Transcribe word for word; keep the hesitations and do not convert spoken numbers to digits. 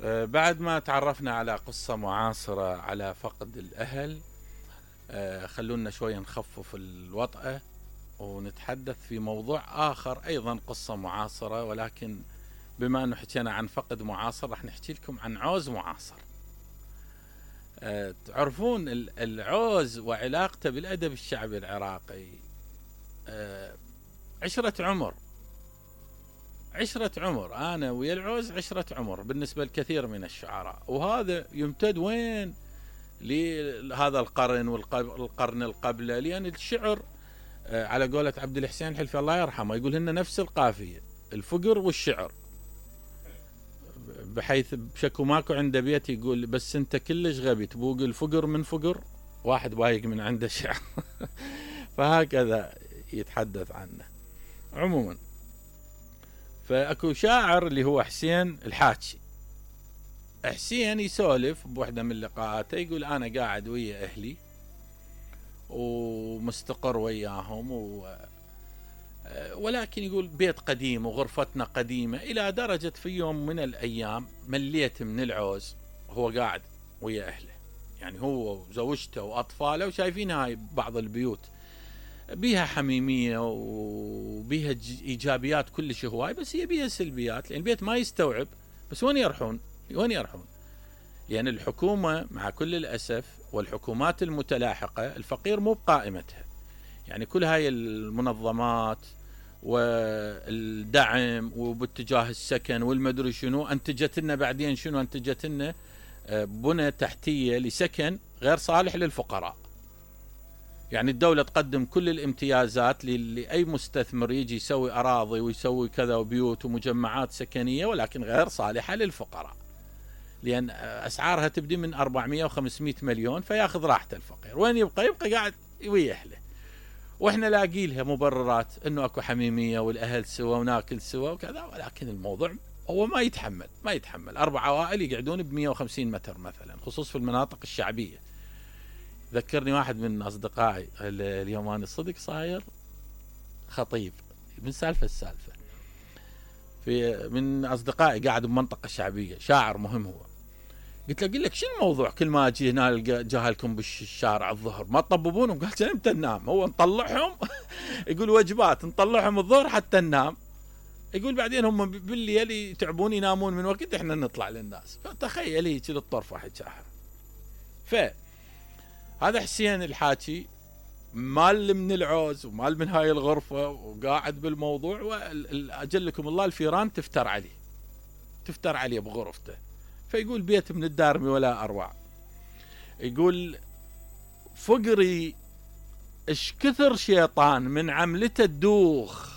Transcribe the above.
آه، بعد ما تعرفنا على قصة معاصرة على فقد الأهل، آه، خلونا شوية نخفف الوطأة ونتحدث في موضوع آخر، أيضا قصة معاصرة، ولكن بما أنه حكينا عن فقد معاصر راح نحكي لكم عن عوز معاصر. أه تعرفون العوز وعلاقته بالأدب الشعبي العراقي أه عشرة عمر عشرة عمر أنا ويا العوز عشرة عمر بالنسبة لكثير من الشعراء، وهذا يمتد وين لهذا القرن والقرن القبله، لأن الشعر أه على قولة عبد الحسين الحلفي الله يرحمه يقول هن نفس القافية، الفقر والشعر، بحيث بشكو ماكو عنده بيت يقول بس انت كلش غبي تبوق الفقر من فقر واحد بايق من عنده شعر. فهكذا يتحدث عنه. عموما فاكو شاعر اللي هو حسين الحاجي. حسين يسولف بوحدة من لقاءاته يقول انا قاعد ويا اهلي ومستقر وياهم و ولكن يقول بيت قديم وغرفتنا قديمة، إلى درجة في يوم من الأيام مليت من العوز. هو قاعد ويا أهله، يعني هو وزوجته وأطفاله، وشايفين هاي بعض البيوت بيها حميمية وبيها إيجابيات كلش هواي، بس هي بيها سلبيات، لأن البيت ما يستوعب. بس وين يرحون؟ وين يرحون؟ لأن يعني الحكومة مع كل الأسف والحكومات المتلاحقة الفقير مو بقائمتها، يعني كل هاي المنظمات والدعم وباتجاه السكن والمدري شنو انتجت لنا بعدين شنو انتجت لنا بنى تحتية لسكن غير صالح للفقراء. يعني الدولة تقدم كل الامتيازات لأي مستثمر يجي يسوي أراضي ويسوي كذا وبيوت ومجمعات سكنية، ولكن غير صالحة للفقراء، لأن أسعارها تبدي من أربعمية وخمسمية مليون، فياخذ راحته الفقير. وين يبقى؟ يبقى قاعد ويا أهله. واحنا لاقي لها مبررات انه اكو حميميه والاهل سوا وناكل سوا وكذا، ولكن الموضوع هو ما يتحمل ما يتحمل اربع عوائل يقعدون ب مية وخمسين متر مثلا، خصوص في المناطق الشعبيه. ذكرني واحد من اصدقائي اليوم، انا صدق صاير خطيب من سالفه السالفه، في من اصدقائي قاعد بمنطقه شعبيه، شاعر مهم هو. قلت له قل لك شو الموضوع كل ما اجي هنا جاهلكم بالشارع الظهر ما تطببونهم؟ قالت امتى ننام؟ هو نطلعهم يقول وجبات نطلعهم الظهر حتى ننام، يقول بعدين هم بالليل يتعبون ينامون من وقت احنا نطلع للناس. فتخيل هيك للطرفه حكاها. فهذا حسين الحاكي مال من العوز ومال من هاي الغرفه وقاعد بالموضوع، واجلكم الله الفيران تفتر عليه تفتر عليه بغرفته. فيقول بيت من الدارمي ولا أروع. يقول فقري اش كثر شيطان من عملته الدوخ،